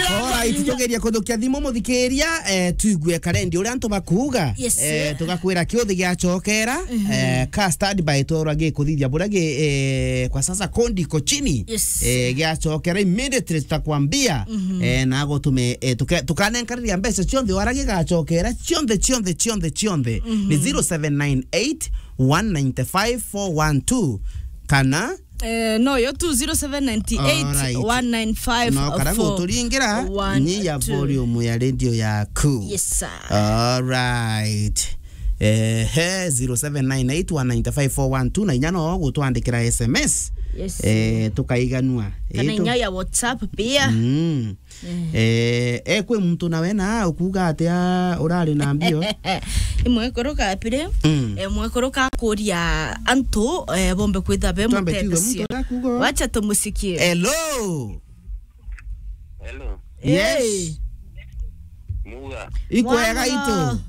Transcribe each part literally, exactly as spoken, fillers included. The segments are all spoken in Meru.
Alright, tugeria kuthukia thimu muthikiria, eh, tuigue karendi uria antu bakuuga. Yes, eh, sir. Tugakwira kiuthi giacokera, eh, ka standby tworwa gikuthithia buria gi, eh, kwa sasa kondi iko chini. Yes. Eh, giacokera immediately tutakwambia, eh, na gutume, eh, tuka-, tukanenkariria mbeca cionthe wara gigacokera, cionthe, cionthe, cionthe, cionthe. Ni zero seven nine eight one nine five four one two kana Eh, no, yo tu zero seven nine eight one nine five four one two. Alright. No, kara guturingira, nyia volume ya radio yaku. Yes, sir. Alright. Eh, he, zero seven nine eight one nine five four one two, na inya no gutwandikira S M S. Yes. Eh, tukaiganua. Kana eh, tu- inya ya WhatsApp pia. Mm. Eh. Eh, eh, kwi muntu nawe na ukuuga atia urari na mbio? Imwekuru kapire, mm, eh, mwekuru kakuria antu, eh, bombe kwitha be. Twambe tuigue mutethesia. Muntu akuuga. Wacha tumusikie. Hello. Hello. Yes. Eh. Muga. Ikwega. Mwana. Itu.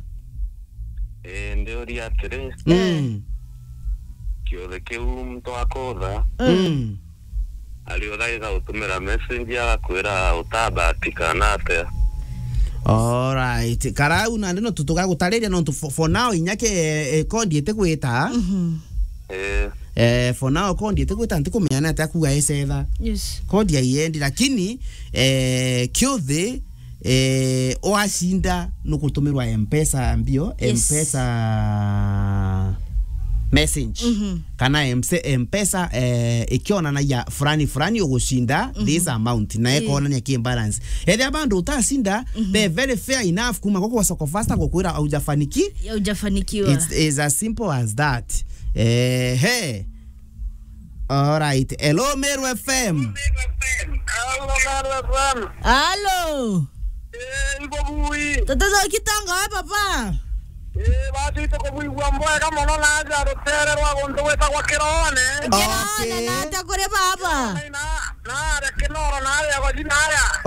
Eh, ndiuria atiri. Mm. Kiothe kiu muntu akotha. Mm. Ari uthaitha gutumira message agakwira utabatika na atia. Alright. Karau nandi no tutugagutariria nontu for, for now inya ke, eh, kondi itigwita. Mhm. Eh. Eh, for now kondi itigwita ntikumenya ni atia kuga ecetha. Yes. Kondi aiendi lakini, eh, kiuthi eh, wacinda nukutumirwa M-Pesa mbio, yes, M-Pesa message. Mhm. Kana M-, M-Pesa, eh, ikionanagia fulani fulani ugucinda, mhm, this amount, na, eh, ikonania ki balance. Ethia bandu utacinda, mhm, be very fair enough kuma gwa Soko Fasta gukwira aujafaniki-, haujafanikiwa. It's, it's as simple as that. Eh, he. Alright. Hello, Meru F M. Hello, Meru F M. Hello. Eh, ibo bui. Tata Zoki Tonga we papa. Eh, basi tukubuigua mbwega mono na aja rutere rwa guntu gwitagwa Kirone. Kirone. Okay. Na atia kuri baba? Na, na aria Kinoro na aria Goji na aria.